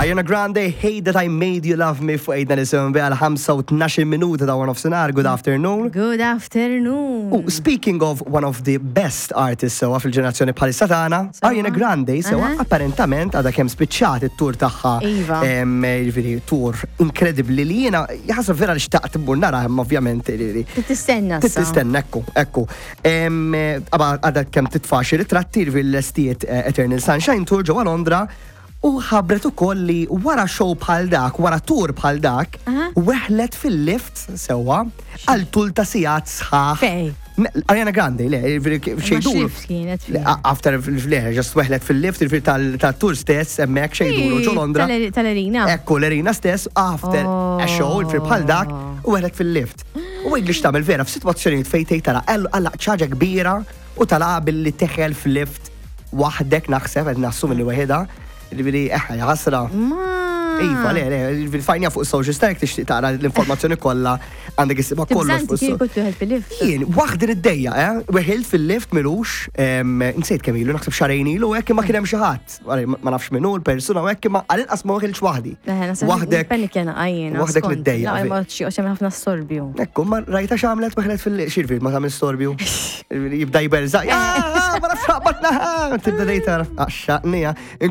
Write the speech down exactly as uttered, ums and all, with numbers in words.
Ariana Grande, "Hate That I Made You Love Me" fuq Għidna Nisimgħu Biha għal ħamsa u tnax-il minuta ta' one nofsinhar. Good afternoon. Good afternoon. U speaking of one of the best artists sewa fil-ġenerazzjoni bħalissa tagħna, Sewa. Ariana Grande sewa Aha. apparentament għadha kemm spiċċat it-tour tagħha. Iva. Em, Jiġifieri tour inkredibbli li jiena jaħasra vera li xtaqt immur nara, imma ovvjament li- li- Tistenna sa. Tistenna, ekku, ekku. Em, Aba għadha kemm titfa' xi ritratti fil-lestiet eh, Eternal Sunshine Tour ġewwa Londra u ħabbret ukoll li wara show bħal dak, wara tour bħal dak, Aha. weħlet fil-lift sewa għal tul ta' sigħat sħaħ. Fej? Me- Ariana Grande, le, xejdu. X'lift kienet fih? After, le, just weħlet fil-lift, il tal-tour stess, hemmhekk xejdulu ġo Londra. Tal- Tal-arena. Ekku, l-arena stess, after a show, il bħal dak, u weħlet fil-lift. U għid li x'tagħmel vera, f'sitwazzjonijiet fejn tgħid tara, għalla ċaġa kbira u tala billi teħel fil-lift waħdek, naħseb, qed nassumi li waħedha, ġifieri, eħe, ħasra. Ma. Iva, le, le, fil-fajnja fuq social stack tixtieq tara l-informazzjoni kollha, għandek issibha kollox Tibżanti fuq kieku tuħel fil-lift. Jien, waħdi id-dejja, eh? Weħilt fil-lift milux, em, nsejt kemm ilu, naħseb xahrejn ilu, hekk ma kien hemm xi ħadd. Għalli, Ma nafx minnu l-persuna u hekk imma għal-inqas ma weħilx waħdi. Waħdek. Panik jena għajjena. Waħdek niddejja. La, ma xi ħafna storbju. Ekku, ma rajta x'għamlet, weħlet fil-lift, xirfir, ma tagħmel storbju. Jibda jberżaq. "Ah, ma nafx xaqbatna." Tibda dejta, għaxxaqnija.